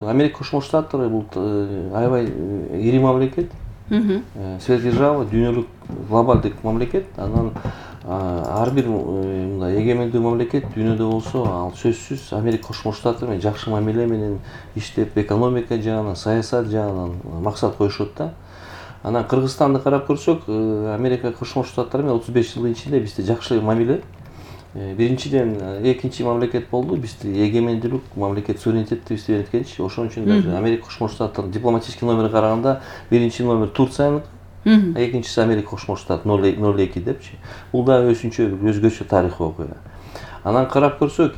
Америка Кошмо Штаттары бул аябай ири мамлекет, сверхдержава, дүйнөлүк глобалдык мамлекет. Анан ар бир мындай эгемендүү мамлекет дүйнөдө болсо, ал сөзсүз Америка Кошмо Штаттары менен жакшы мамиле менен иштеп, экономика жагынан, саясат жагынан максат коюшат да. Анан Кыргызстанды карап көрсөк, Америка Кошмо Штаттары менен 35 жылдын ичинде бизде жакшы мамиле. Биринчиден экинчи мамлекет болду. Бизде эгемендүүлүк, мамлекет суверенитетти бизде бериткенчи. Ошон үчүн даже Америка Кошмо Штаттарынын дипломатический номери караганда биринчи номер Турцияныкы, экинчиси Америка Кошмо Штат 02 депчи. Бул да өзгөчө тарыхый окуя. Анан карап көрсөк,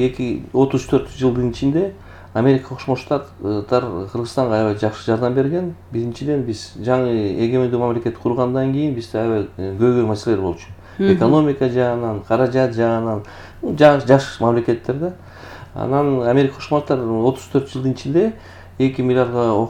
34 жылдын ичинде Америка Кошмо Штаттар Кыргызстанга аябай жакшы жардам берген. Биринчиден биз жаңы эгемендүү мамлекет кургандан кийин бизде аябай көйгөй маселелер болчу. Экономика жагынан, каражат жагынан жаш мамлекеттер да. Анан Америка Кошмо Штаттар 34 жылдын ичинде 2 миллиардга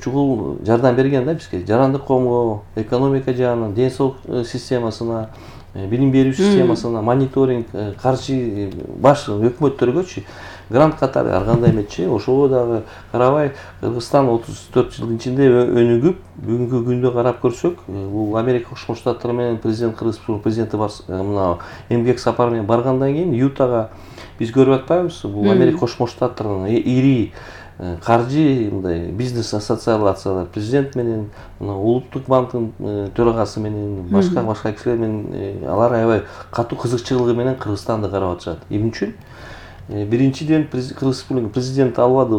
чукул жардам берген да бизге. Жарандык коомго, экономика жагынан, ден соолук системасына, билим берүү системасына, мониторинг, каржы баш өкмөттөргөчү грант катары ар кандай эметчи. Ошого дагы карабай Кыргызстан 34 жылдын ичинде өнүгүп, бүгүнкү күндө карап көрсөк, бул Америка Кошмо Штаттары менен президент Кыргыз президенти мына эмгек сапары менен баргандан кийин Ютага биз көрүп атпайбызбы? Бул Америка Кошмо Штаттарынын ири каржы мындай бизнес ассоциациялар президент менен, улуттук банктын төрагасы менен, башка кишилер менен алар аябай катуу кызыкчылыгы менен Кыргызстанды карап атышат. Эмне үчүн? Биринчиден Кыргыз Республикасынын президенти албады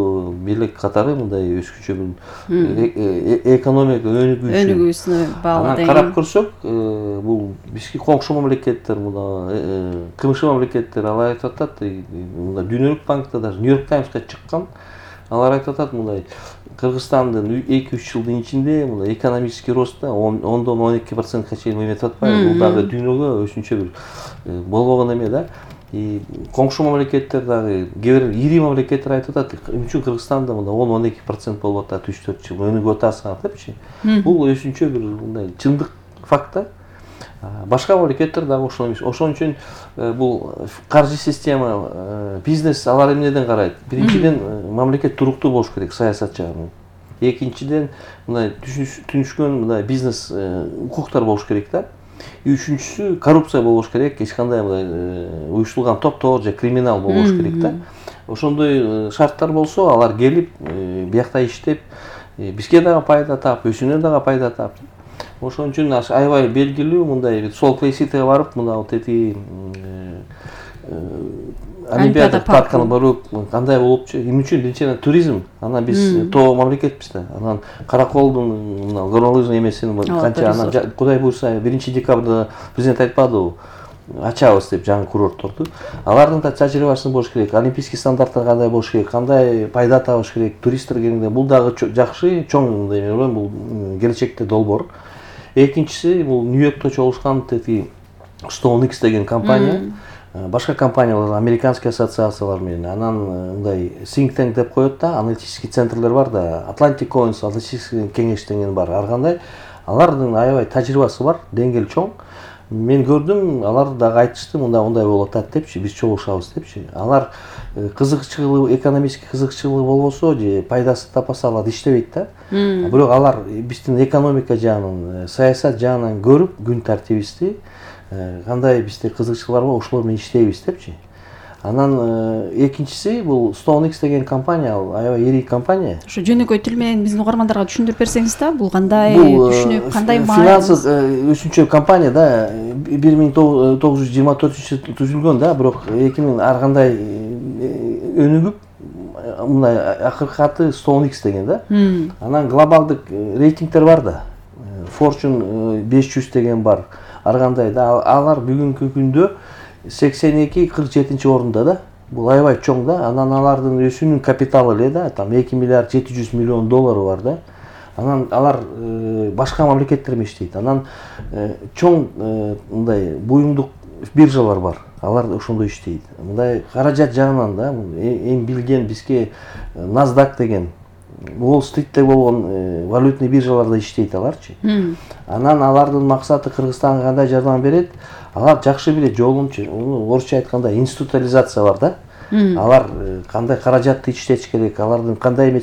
бийлик катары мындай өзгөчө экономика өнүгүүсүнө баалуу. Анан карап көрсөк, бул бизге коңшу мамлекеттер, мына КМШ мамлекеттер алар айтып атат, мына дүйнөлүк банкта даже Нью-Йорк Таймска чыккан. Алар айтып атат мындай Кыргызстандын 2-3 жылдын ичинде мындай экономический ростта 10-12%ка чейин эметип атпайбы? Бул дагы дүйнөгө өзүнчө бир болбогон эме да. Коңшу мамлекеттер дагы кээ бир ири мамлекеттер айтып атат, эмне үчүн Кыргызстанда мында 10-12% болуп атат 3-4 жыл өнүгүп атасың депчи. Бул өзүнчө бир мындай чындык факт да. Башка мамлекеттер дагы ошол эмес. Ошон үчүн бул каржы система, бизнес алар эмнеден карайт? Биринчиден мамлекет туруктуу болуш керек саясат жагынан. Экинчиден мындай түнүшкөн мындай бизнес укуктар болуш керек да. Үчүнчүсү коррупция болбош керек, эч кандай мындай уюштурулган топтор же криминал болбош керек да. Ошондой шарттар болсо, алар келип, биякта иштеп, бизге дагы пайда таап, өзүнө дагы пайда таап. Ошон үчүн аябай белгилүү мындай сол плейситеге барып, мына вот эти Олимпиада паркына барып, кандай болупчу? Эмне үчүн? Биринчиден туризм. Анан биз тоо мамлекетпиз да. Анан Караколдун мына горнолыжный эмесин канча анан Кудай буйрса 1-декабрда президент айтпадыбы? Ачабыз деп жаңы курортторду. Алардын да тажрыйбасы болуш керек. Олимпийский стандарттар кандай болуш керек, кандай пайда табыш керек, туристтер келгенде. Бул дагы жакшы, чоң мындай эме, бул келечекте долбоор. Экинчиси бул Нью-Йоркто чогулушкан StoneX деген компания. Башка компаниялар, американский ассоциациялар менен, анан мындай think tank деп коет да, аналитический центрлер бар да, Atlantic Council, аналитический кеңеш деген бар. Ар кандай алардын аябай тажрыйбасы бар, деңгели чоң. Мен көрдүм, алар дагы айтышты, мындай болуп атат депчи, биз чогулушабыз депчи. Алар кызыкчылыгы, экономический кызыкчылыгы болбосо же пайдасы таппаса алар иштебейт да. Бирок алар биздин экономика жагынан, саясат жагынан көрүп, күн тартибибизди, кандай бизде кызыкчылык барбы, ошолор менен иштейбиз депчи. Анан экинчиси бул StoneX деген компания, аябай ири компания. Ошо жөнөкөй тил менен биздин угармандарга түшүндүрүп берсеңиз да, бул кандай түшүнүк, кандай финансыз өзүнчө компания да, 1924 түзүлгөн да, бирок 2000 ар кандай өнүгүп, мындай акыркы аты StoneX деген да. Анан глобалдык рейтингтер бар да. Fortune 500 деген бар. Ар кандай да, алар бүгүнкү күндө 82-47 орунда да. Бул аябай чоң да. Анан алардын өзүнүн капиталы эле да, там 2 миллиард 700 миллион доллары бар да. Анан алар башка мамлекеттер менен иштейт. Анан чоң мындай буюмдук биржалар бар. Алар ошондой иштейт. Мындай каражат жагынан да, эң билген бизге NASDAQ деген Уолл-стритте болгон валютный биржаларда иштейт аларчы. Анан алардын максаты Кыргызстанга кандай жардам берет? Алар жакшы билет жолун, орусча айтканда институциализация бар да. алар кандай каражатты иштетиш керек, алардын кандай эмес